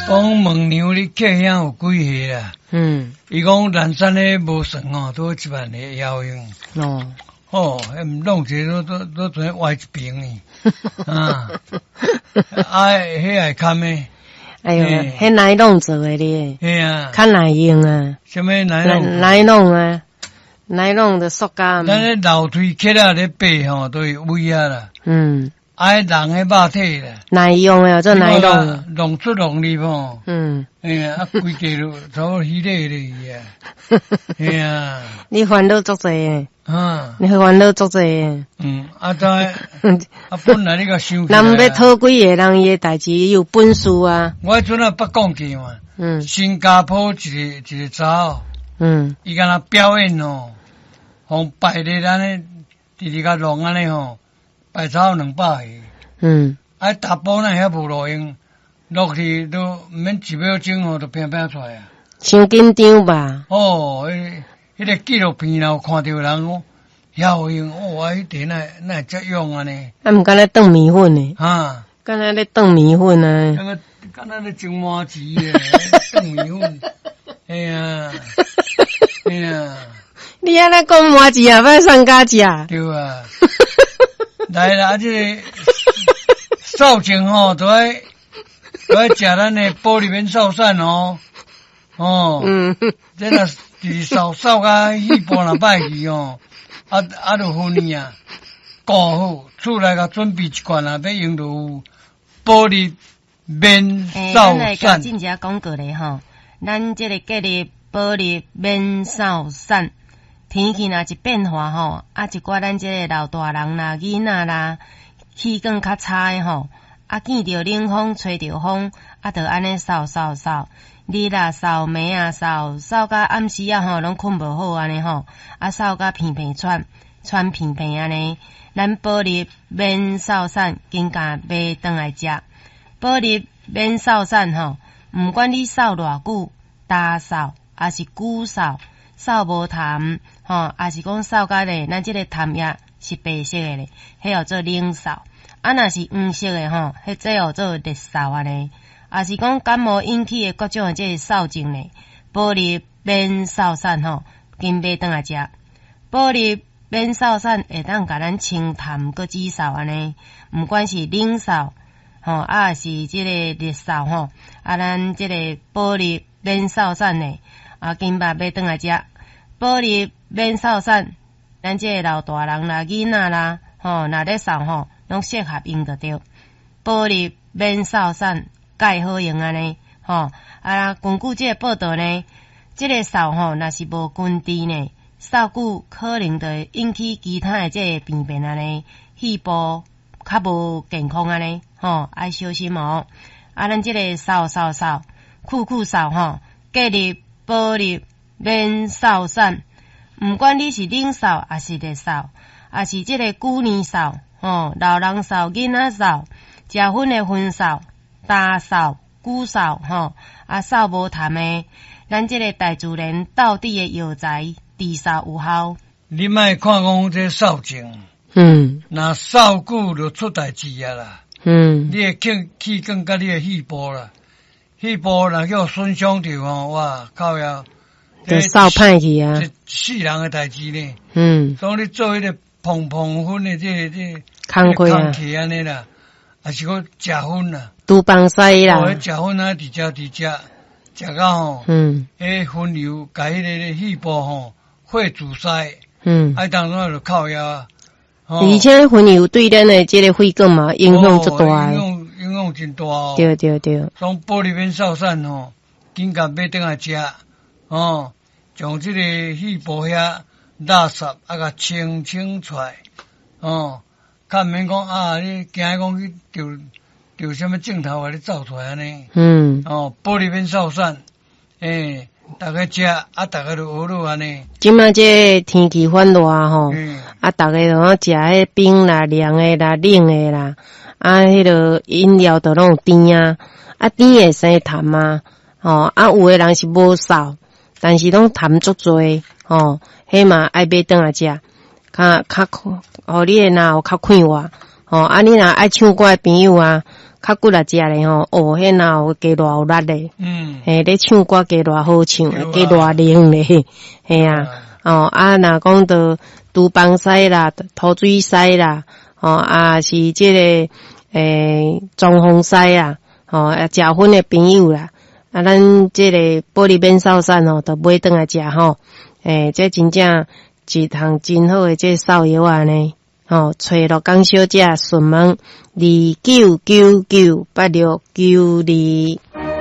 講問娘你客兄有幾歲啦？伊講南山的無算吼，都1萬個會曉用。哦，彼弄一個都都都全歪一邊呢。啊，啊，彼會堪的。哎喲，彼奶龍做的咧。嘿啊。較耐用啊。啥物奶龍？奶龍啊，奶龍的塑膠。咱咧樓梯起來咧爬吼，都會危啊啦。啊，人的肉體啦。耐用的做奶龍。弄出弄入吼。哎呀，啊，規家都差不多虛咧咧啊。嘿啊。你煩惱足濟。啊。你煩惱足濟。嗯，啊，怎啊，本來你共想。人欲討幾个人，伊的代誌有本事啊。我彼陣啊捌講過嘛。新加坡一个一个查某。伊敢若表演哦，予排咧按呢，直直共弄按呢吼，排超過200个。啊，查埔哪遐無路用，落去都毋免一秒鐘吼，就拼拼出來啊。傷緊張吧？哦，彼個紀錄片有看著人講，遐有用，哦，啊，彼個哪哪會遮勇按呢？啊，毋敢若轉麵粉呢？啊。敢若咧轉麵粉啊？那個敢若咧蒸麻糍的，轉麵粉。哎呀，哎呀。你按呢講麻糍啊，欲送家食？對啊。來啦，這個掃症吼，都愛食咱的保利免掃散哦。哦。這若是掃掃甲肺部若歹去哦，啊啊，就分你啊，顧好，厝內共準備一罐啊，欲用就有保利免掃咱來散。進一廣告咧吼，咱這個建立保利免掃散，天氣若一變化吼，啊一寡咱這個老大人啦、囡仔啦，氣管較差的吼，啊見著冷風、吹著風，啊就按呢掃掃掃，日啊掃，暝啊掃，掃到暗時啊吼，攏睏無好按呢吼，啊掃甲鼻鼻喘，喘鼻鼻按呢，咱保利免掃散，緊共買轉來食。保利免掃散吼，毋管你掃偌久，焦嗽，抑是久嗽，嗽無痰，吼，抑是講嗽甲咧，咱這個痰液是白色的咧，彼叫做冷嗽。啊，若是黃色的吼，彼這叫做熱嗽按呢。抑是講感冒引起的各種的這個嗽症咧，保利免掃散吼，緊買轉來食。保利免掃散會當共咱清痰閣止嗽按呢，毋管是冷嗽吼，啊是這個熱嗽吼，啊咱這個保利免掃散咧，啊緊捌買轉來食。保利免掃散，咱這個老大人啦、囡仔啦，吼，若咧嗽吼，攏適合用就對。保利免掃散，蓋好用按呢，吼啊，根據這個報道呢，這個嗽吼，若是無根治呢，嗽久可能就會引起其他的這個病變按呢，肺部較無健康按呢，吼，愛小心哦。啊，咱這個嗽嗽嗽，久久嗽吼，建立保利免掃散，毋管你是冷嗽，抑是熱嗽，抑是這個久年嗽，吼，老人嗽、囡仔嗽，食薰的薰嗽、焦嗽、久嗽，吼，啊嗽無痰的，咱這個大自然道地的藥材，治嗽有效。你莫看講這嗽症，若嗽久就出代誌啊啦。你的氣氣管佮你的肺部啦，肺部若叫損傷著吼，哇靠呀！就嗽歹去啊！這死人的代誌呢。所以你做彼個膨膨粉的這個這工課啊，工課按呢啦，抑是講食薰啦，廚房師啦，哦，彼食薰啊，直食直食，食到吼，彼薰油共彼个肺部吼，血阻塞，啊，當陣就靠腰。而且薰油對咱的這個血管嘛影響足大，影響影響真大哦。對對對。所以保利免掃散吼，緊共買轉來食，哦，將這個肺部遐垃圾啊，共清清出來，哦，較毋免講啊，你驚講去著著啥物症頭予你走出來按呢？哦，保利免掃散，欸，逐家食啊，逐家就學落按呢。這馬這個天氣反熱吼，啊，逐家攏食彼冰啦、涼的啦、冷的啦，啊，彼个飲料都攏有甜啊，啊，甜會生痰啊，吼，啊，有的人是無嗽，但是攏痰足濟，吼，彼嘛愛買轉來食，較較予你的若有較快活，吼，啊，你若愛唱歌的朋友啊，較骨力食咧吼，哦，彼若有加偌有力咧。嘿，咧唱歌加偌好唱，加偌靈咧，嘿啊，哦，啊，若講著廚房師啦、塗水師啦，哦，啊是這个裝潢師啊，吼，啊，食薰的朋友啦，啊，咱這个保利免掃散吼，就買轉來食吼，這真正一項真好的這瘦藥仔呢，吼，揣樂江小姐詢問29998692。